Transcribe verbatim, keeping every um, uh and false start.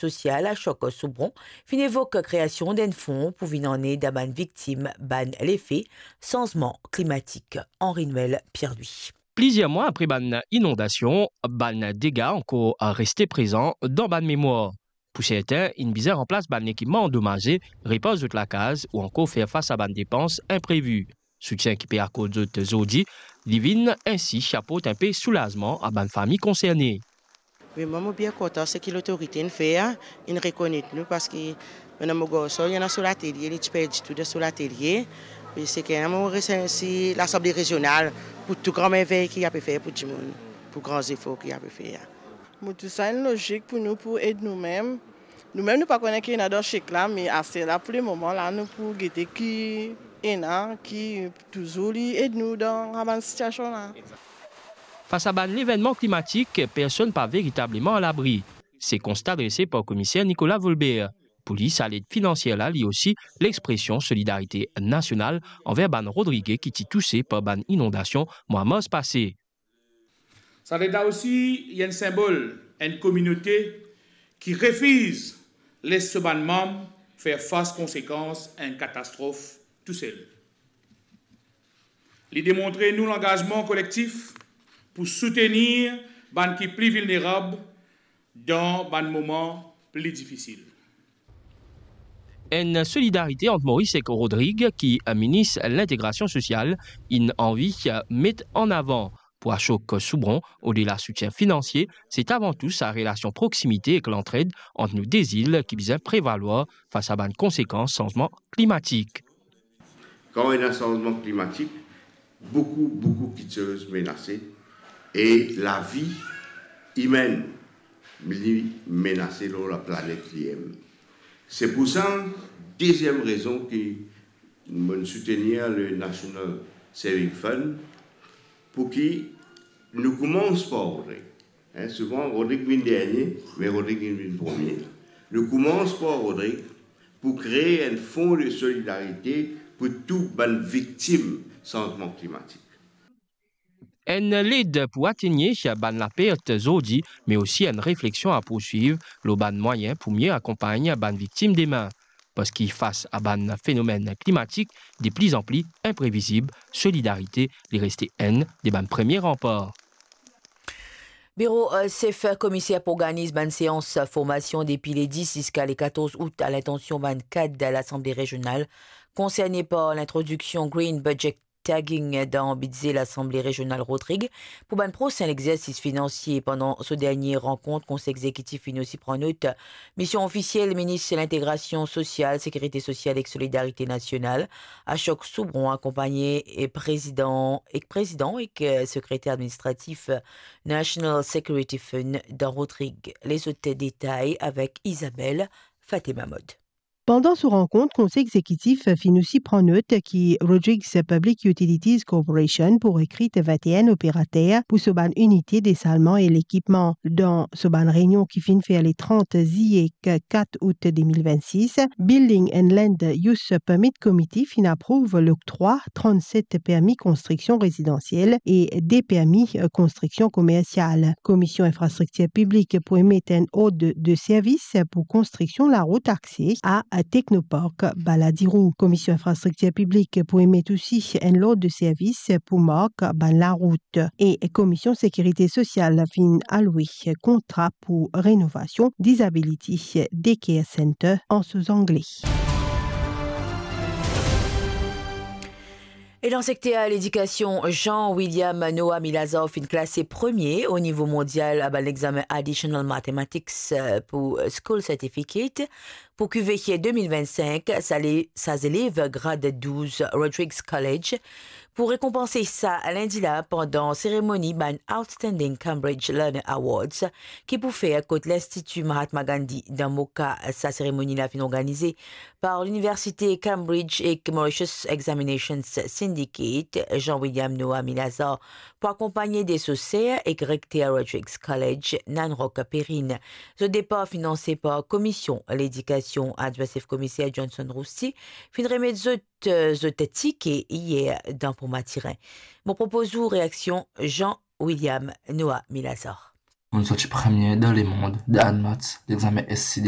sosial Ashok Soubron finn evok kreasion d'enn fon pou vinn an ed a bann viktim bann lefe sanzman klimatik. Henri Noël Pierre-Louis. Plizier mwa apre bann inondasion, bann dega ankor reste prezan dan bann memwar. Pou sertin, inn bizin ranplas bann lekipman andomaze, repar zot lakaz ou ankor fer fas a bann depans inprevi. Soutien ki pe akord zot zordi, li vinn ensi aport inpe soulazman a bann fami konserne. Wi, mwa, mo bien kontan seki lotorite inn fer, inn rekonet nou, parski mo ena mo garson, li ena so latelie, li ti perdi tou dan so latelie. E seki mo remersi Lasanble Rezional pou tou gran mervey ki ape fer pou dimoun, pou gran zefor ki ape fer. Mo trouv sa enn lozik pou nou, pou ed noumem. Noumem, nou pa kone ki ena dan sek la, me aster la, pou lemoman la, nou pou gete ki ena, ki touzour li ed nou dan sa bann sitiasion la. Fas a bann levennman klimatik, personn pa veritableman alabri. Se konsta drese par Komiser Nicolas Volbert. Pou li, sa led finansier la, li osi, lexpresion solidarite nasional anver bann Rodrige ki ti touse par bann inondasion mwa mars pase. Sa led la osi, li enn sinbol enn kominote ki refiz les so bann manm fer fas konsekans enn katastrof tousel. Li demontre nou langazman kolektif pou soutenir bann ki pli vilnerab dan bann moman pli difisil. Enn solidarite ant Moris ek Rodrig ki minis lintegrasion sosial inn anvi met an avan. Pou Ashok Soubron, odela soutien finansie, se avan tou sa relasion proksimite ek lantred ant nou de zil ki bizin prevalwar fas a bann konsekans sanzman klimatik. Kan ena sanzman klimatik, boukou, boukou kiksoz menase e lavi imenn li menase lor laplanet li mem. Se pou sa, deziem rezon ki mo'nn soutenir le National Saving Fund, pou ki nou koumans par Rodrig. Hein, souvan, Rodrig vinn dernie, me Rodrig vinn, vinn premie. Nou koumans par Rodrig pou kree enn fon de solidarite pou tou bann viktim sanzman klimatik. Enn led pou atenir bann lapert zordi, me osi enn refleksion a pourswiv lor bann mwayin pou mie akonpagn bann viktim demin. Parski fas a bann fenomenn klimatik de pli an pli inprevizib, solidarite li reste enn de bann premie ranpar. Biro, eh, sef komiser pou organiz bann seans formasion depi le dis ziska le katorz out a lintansion bann kad Lasanble Rezional konserne par lintrodiksion Green Budget Tagging dan bidze Lasanble Rezional Rodrig pou bann prosin lexersis finansie. Pandan so dernie rankont, Konsey Egzekitif finn osi pran not mision ofisiel Minis Lintegrasion Sosial, Sekirite Sosial ek Solidarite Nasional, Ashok Soubron, akonpagne e prezidan, ek prezidan ek, eh, sekreter administratif National Security Fund dan Rodrig. Lezot detay avek Isabelle Fatemamod. Pandan so rankont, Konsey Egzekitif finn osi pran not ki Rodrigues Public Utilities Corporation pou rekrit vinte-enn operater pou so bann inite desalman e lekipman. Dan so bann reynion ki finn fer le trant ziye ek kat out de mil vennsis, Building and Land Use Permit Committee finn aprouv loktrwa trannset permi konstriksion rezidansiel e de permi, eh, konstriksion komersial. Komision Infrastriktir Piblik pou emet enn ord de servis pou konstriksion larout akse a Technopark Balladirou. Komision Infrastriktir Piblik pou emet osi enn lord de servis pou mark bann larout. E Komision Sekirite Sosial finn alwe kontra pou renovasion Disability Daycare Center an so zangle. E dan sekter ledikasion, Jean William Noah Milazar finn klase premie o nivo mondial a bann lexamen Additional Mathematics, eh, pou School Certificate pou QVC de mil vennsenk. Sa le, sa zelev grad douz Rodrigues College pou rekonpanse sa lindi la pandan seremoni bann Outstanding Cambridge Learner Awards ki pou fer kot Linstiti Mahatma Gandhi dan Moka. Sa seremoni la finn organize par Liniversite Cambridge ek Mauritius Examinations Syndicate. Jean William Noah Milazar pou akonpagne de so ser ek rekter Rodrigues College, Nanrock Perrine. Zot depar finanse par Komision Ledikasion. Adwin Sef Komiser Johnson Rousti finn remet zot, eh, zot tike iyer dan Pont Mathurin. Mo propoz ou reaksion Jean William Noah Milazar. Mo'nn sorti premie dan lemond dan Admaths, lexame SC